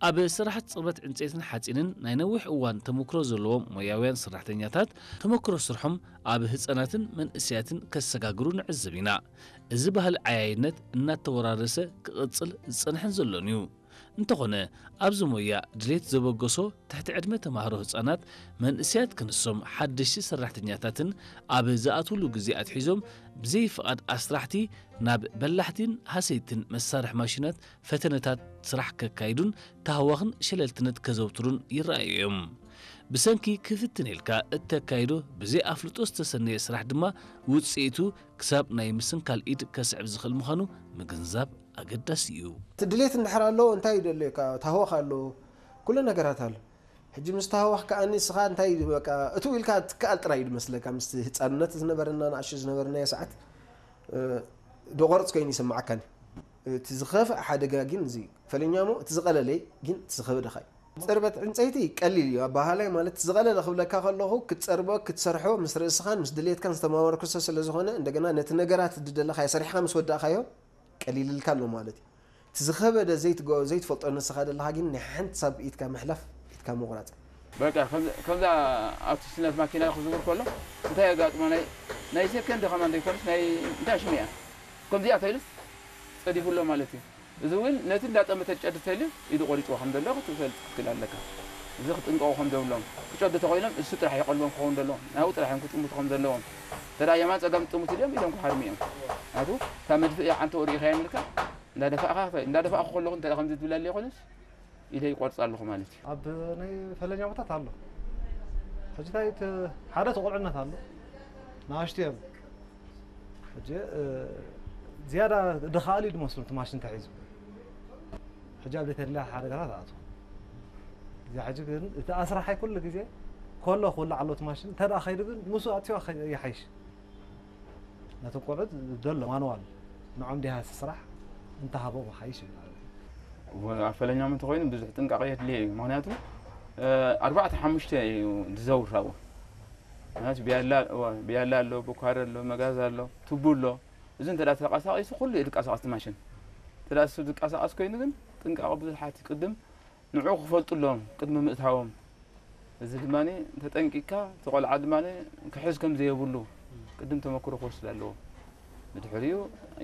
ኣብ ስራሕቲ ጽርበት ዕንጸይትን ሓጺንን ናይ ነዊሕ እዋን ተመክሮ ዘለዎም ሞያውያን ሰራሕተኛታት፣ ተመክሮ ስርሖም ኣብ ህጻናትን መንእሰያትን ከሰጋግሩ ንዕዘብ ኢና። እዚ ባህሊ ዓያይነት እናተወራረሰ ክቕጽል ዝጸንሐን ዘሎን እዩ። እንተኾነ፣ ኣብዚ ሞያ ድሌት ዘበገሶ ትሕቲ ዕድመ ተማሃሮ ህጻናት፣ መንእሰያት ክንሶም ሓደሽቲ ሰራሕተኛታትን ኣብ ዝኣትውሉ ግዜ ኣትሒዞም ብዘይ ፍቓድ ኣስራሕቲ ናብ በላሕቲን ሃሰይትን መሳርሒ ማሽናት ፈተነታት ስራሕ ከካይዱን ታህዋኽን ሸለልትነት ከዘውትሩን ይረኣዩ እዮም። ብሰንኪ ክፍትን ኢልካ እተካይዶ ብዘይ ኣፍልጦ ዝተሰነየ ስራሕ ድማ ውጽኢቱ ክሳብ ናይ ምስንካል ኢድ ከስዕብ ዝኽእል ምዃኑ ምግንዛብ ኣገዳሲ እዩ። እቲ ድሌት እንድሕር ኣሎ እንታይ እዩ ደልዮካ? ታህዋኽ ኣሎ፣ ኩሉ ነገራት ኣሎ። ሕጂ ምስ ታህዋኽ ከኣ ንስኻ እንታይ እዩ በቃ እቱ ኢልካ ትከኣል ጥራይ እዩ ዝመስለካ። ምስቲ ህፃንነት ዝነበረና ንኣሽቱ ዝነበርናዮ ሰዓት እ፣ ደቆርጽ ኮይኑ ይስምዓካኒ። እቲ ዝኸፍእ ሓደጋ ግን እዚ ፈለኛሞ እቲ ዝቐለለ ግን እቲ ዝኸበደኻ እዩ። ጽርበት ዕንጸይቲ ቀሊል እዩ ኣባሃላይ ማለት እቲ ዝቐለለ ክብለካ ከለኹ ክትጸርቦ ክትሰርሖ ምስ ርእስኻን ምስ ድሌትካን ዝተማወርክሶ ስለ ዝኾነ እንደገና ነቲ ነገራት ዝደለኻዮ ሰሪሕኻ ምስ ወዳእካዮ ቀሊልልካ ኣሎ ማለት እዩ። እቲ ዝኸበደ ዘይትገ ዘይትፈልጦ ንስኻ ዘለኻ ግን ናይ ሓንቲ ሳብ ኢድካ ምሕላፍ ኢድካ ምቑራጽ። በቃ ከምዛ ኣብቲ ስነት ማኪና ክዝውር ከሎ እንታይ የጋጥሞ ናይ ናይ ሴከንድ ከማን ዘይኮነስ ናይ እንታይ ሽሚያ ከምዚኣ ተይሉስ ጸዲፉ ኣሎ ማለት እዩ። እዚ እውን ነቲ እንዳጠመተ ጨዲ ተልዩ ኢዱ ቆሪጽዎ ከም ዘሎ ክትፈልጥ ክትክእል ኣለካ። እዚ ክጥንቀቑ ከም ዘብሎም ክጨዱ ተኾይኖም እሱ ጥራሕ ይቐልቦም ክኸውን ዘለዎ ናብኡ ጥራሕ እዮም ክጥምቱ ከም ዘለዎም ተዳ የማን ጸጋም ጥሙት ኢሎም ኢሎም ክሃርሙ እዮም። ኣቱ ካብ መድፍእ ዓንተ ወሪኢኻ የምልካ እንዳደፋእኻ እንዳደፋእኹ ከለኹ እንተ ከምዚ ትብል ኣለ ይኾንስ ኢለ ይቆርጽ ኣለኹ ማለት እዩ። ኣብ ናይ ፈለኛሞታት ኣሎ። ሕጂ እንታይ እቲ ሓደ ተቆልዕነት ኣሎ። ንኣሽቱ እዮም። ሕጂ ዝያዳ ድኻኣሉ እዩ ዝመስሉ እቲ ማሽን ተሒዙ። ሕጂ ኣብ ዘይተድልያ ሓደጋታት ኣትዎ። እዚ ሕጂ ግን እቲ ኣስራሓይ ኩሉ ግዜ ከሎ ክውላዕ ኣለዎ እቲ ማሽን እንተ ደኣ ከይዱ ግን ምስኡ ኣትዮ ይሓይሽ። ነቶም ቆልዑት ዘሎ ማንዋል ንዖም ዲሃ ስራሕ እንተሃቦም ሓይሽ ይብል። ኣብ ፈለኛም እንተኮይኑ ብዙሕ ጥንቃቄ የድልዮ እዩ። ምክንያቱ ኣርባዕተ ሓሙሽተ እዩ ዝዘውር ኣብኡ። ምክንያቱ ብያላ ኣሎ፣ ብኳሪ ኣሎ፣ መጋዝ ኣሎ፣ ቱቡ ኣሎ። እዚ እንተ ተንቀሳቂሱ ኩሉ እዩ ዝንቀሳቀስ እቲ ማሽን። እንተ እሱ ዝንቀሳቀስ ኮይኑ ግን ጥንቃቄ ብዙሓት ቅድም ንዑ ክፈልጡ ኣለዎም ቅድሚ ምእታዎም። እዚ ድማ ተጠንቂቅካ እቲ ቆልዓ ድማ ክሕዝ ከም ዘየብሉ ቅድም ተመክሮ ክወስድ ኣለዎ። ብድሕሪኡ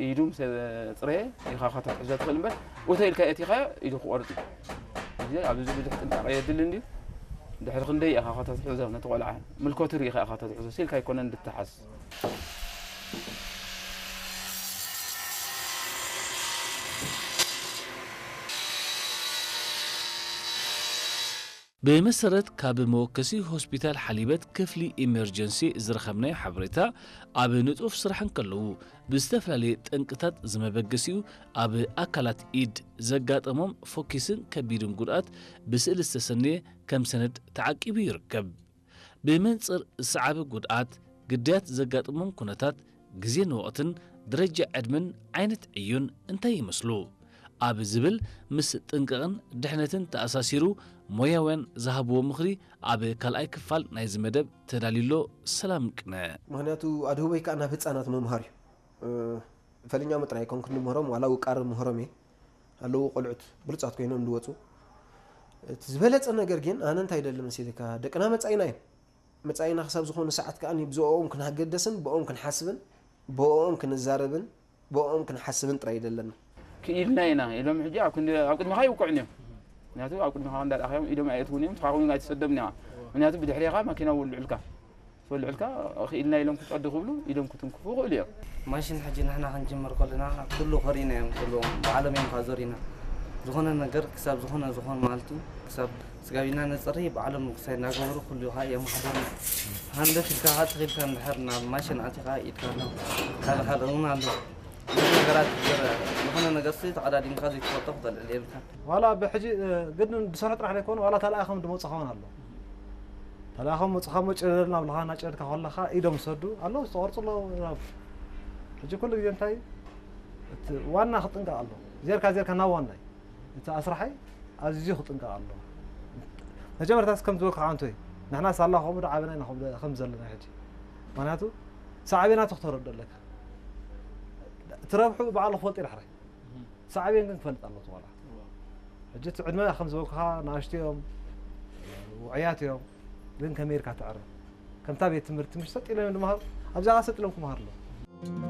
ኢዱ ምስ ኣፅረየ ኢኻ እኻ ተትሕዞ ትኽእል እምበር እቶ ኢልካ ኣእቲኻዮ ኢዱ ክቆርፅ እዩ። እዚ ኣብዚ ብዙሕ ጥንቃቄ የድሊ እንድዩ። ድሕሪ ክንደይ ኢኻ እኻ ተትሕዞ ነቲ ቆልዓ ምልኮቱ ርኢኻ ኢኻ ተትሕዞ ሲልካ ኣይኮነን ድትሓዝ። ብመሰረት ካብ መወከሲ ሆስፒታል ሓሊበት ክፍሊ ኢመርጀንሲ ዝረኸብናዮ ሓበሬታ፣ ኣብ ንጡፍ ስራሕ እንከለዉ ብዝተፈላለየ ጠንቅታት ዝመበገሲኡ ኣብ ኣካላት ኢድ ዘጋጠሞም ፎኪስን ከቢድን ጉድኣት ብስእሊ ዝተሰነየ ከም ሰነድ ተዓቂቡ ይርከብ። ብመንጽር ዝሰዓበ ጉድኣት፣ ግዳያት ዘጋጥሞም ኩነታት፣ ግዜን ወቕትን፣ ደረጃ ዕድመን ዓይነት ዕዮን እንታይ ይመስሉ? ኣብ ዝብል ምስ ጥንቃቕን ድሕነትን ተኣሳሲሩ ሞያውያን ዝሃብዎ ምኽሪ ኣብ ካልኣይ ክፋል ናይዚ መደብ ተዳልዩ ኣሎ። ሰላም ቅነ። ምኽንያቱ ኣድህቦይ ከኣ ናብ ህጻናት ምምሃር እዩ። እ፣ ፈለኛ ምጥራይ ኣይኮንኩን ንምህሮም፣ ዋላ ውቃር ምህሮም እየ። ኣለዉ ቆልዑት ብሉጻት ኮይኖም ዝወጹ። እቲ ዝበለጸ ነገር ግን ኣነ እንታይ ይደሊ መሲልካ፣ ደቅና መጻኢና እዮም። መጻኢና ክሳብ ዝኾነ ሰዓት ከኣ ብዝኦም ክንገደስን ብኦም ክንሓስብን ብኦም ክንዛረብን ብኦም ክንሓስብን ጥራይ ይደለና። ክኢልና ኢና ኢሎም ሕጂ ኣብ ክንዲ ኣብ ቅድሚኻ ይውቅዑን እዮም። ምክንያቱ ኣብ ቅድሚኻ እንዳርኣኻዮም ኢዶም ኣየእትውን እዮም፣ ንስኻ እውን ኣይትሰዶምን ኢኻ። ምክንያቱ ብድሕሬኻ ማኪና ውልዑልካ። ትበልዑልካ ክኢልና ኢሎም ክጸዱ ክብሉ ኢዶም ክትንክፉ ይኽእሉ እዮም። ማሽን ሕጂ ንሕና ክንጅምር ከለና ኩሉ ኮሪና እዮም ኩሉ ባዕሎም እዮም ካዞሪና ዝኾነ ነገር ክሳብ ዝኾነ ዝኾነ ማለት እዩ ክሳብ ስጋቢና ነፅሪ ባዕሎም ክሳይ እናገበሩ ኩሉ ከዓ እዮም ሓደርና ሃንደፍ ኢልካ ከዓ ትኽኢልካ እንድሕር ናብ ማሽን ኣቲኻ ኢድካ ኣሎ ካልእ ካልእ እውን ኣሎ ብዙሕ ነገራት ዝረ ዝኾነ ነገር ሲ ተቐዳዲምካ ዘይትፈልጦ ክተልዕል የብልካ ዋላ ብሕጂ ግን ዝሰርሑ ጥራሕ ዘይኮኑ ዋላ ተለኣኸም ዝመፁ ኸውን ኣሎ ተለኣኸም መፁኻ መጨደር ናብልኻ እናጨደድካ ከለኻ ኢዶም ዝሰዱ ኣለዉ ዝተቆርፁ ኣለዉ ናብ ሕጂ ኩሉ ግዜ እንታይ እቲ ዋና ክጥንቀቕ ኣሎ ዜርካ ዜርካ ናብ ዋናይ እቲ ኣስራሓይ ኣዝዩ ክጥንቀቕ ኣሎ መጀመርታስ ከም ዝበልኩ ሓንቶይ ንሕና ሳላ ከምኡ ዶ ዓበና ኢና ከም ዘለና ሕጂ ምክንያቱ ሳዕቤናቱ ክተረዶ ኣለካ ትረብሑ ባዕሉ ክፈልጥ ይዳሕራይ ሳዕቤን ግን ክፈልጥ ኣለዎ ቆልዓ ሕጂ እቲ ዕድመ ከም ዝበልኩኻ ንኣሽቱ እዮም፣ ውዑያት እዮም፣ ግን ከመይ ኢልካ ተዕረ? ከምታ ቤት ትምህርቲ ምሽ ሰጥ ኢሎም እዮም ዝመሃሩ፣ ኣብዛ ኸዓ ሰጥ ኢሎም ክመሃሩ ኣለዉ።